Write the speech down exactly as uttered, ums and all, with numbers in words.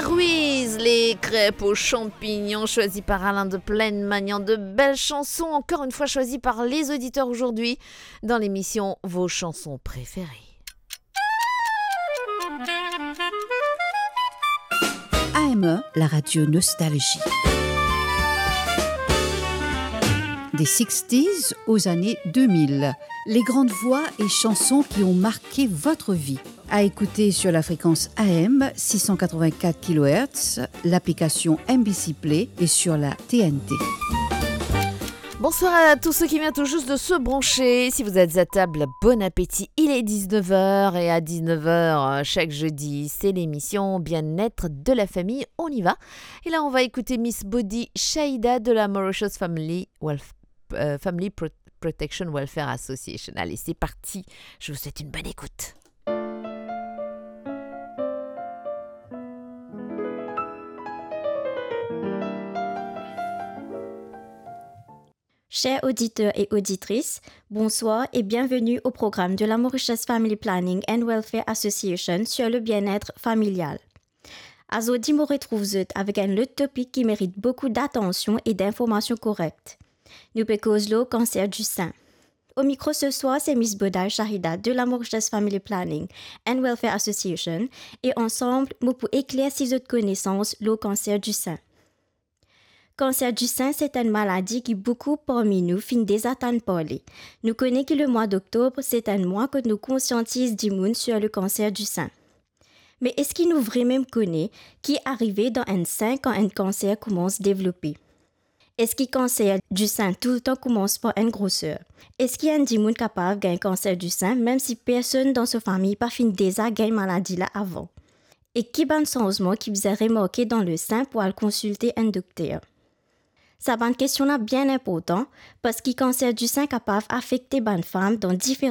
Ruiz, les crêpes aux champignons, choisi par Alain de Plaine, maniant de belles chansons, encore une fois choisies par les auditeurs aujourd'hui dans l'émission Vos chansons préférées. A M E, la radio nostalgie. Des sixties aux années deux mille. Les grandes voix et chansons qui ont marqué votre vie. À écouter sur la fréquence A M six cent quatre-vingt-quatre kilohertz, l'application M B C Play et sur la T N T. Bonsoir à tous ceux qui viennent tout juste de se brancher. Si vous êtes à table, bon appétit. Il est dix-neuf heures et à dix-neuf heures, euh, chaque jeudi, c'est l'émission Bien-être de la famille. On y va. Et là, on va écouter Miss Body Shaida de la Mauritius Family Wealth, euh, Family Pro- Protection Welfare Association. Allez, c'est parti. Je vous souhaite une bonne écoute. Chers auditeurs et auditrices, bonsoir et bienvenue au programme de la Mauritius Family Planning and Welfare Association sur le bien-être familial. Azordi mo retrouv zot avek enn lot topik ki merit boukou datansion e dinformasion korek. Nou pe koz lor kanser di sin. O mikro se swar se Miss Body Shaida de la Mauritius Family Planning and Welfare Association e ansam mo pou eklersi zot konesans lor kanser di sin. Kanser di sin se enn maladi ki boukou parmi nou finn deza tann parle. Nou kone ki lemwa doktob se enn mwa kot nou konsiantiz dimoun sur le kanser di sin. Me eski nou vremem kone ki arive dan enn sin kan enn kanser koumans devlope? Eski kanser di sin toultan koumans par enn groser? Eski enn dimoun kapav gagn kanser di sin mem si personn dan so fami pa finn deza gagn maladi la avan? E ki bann sanzman ki bizin remarke dan le sin pou al konsilte enn dokter? Sa bann kestion la bien inportan, parski kanser di sin kapav afekte bann fam dan diferan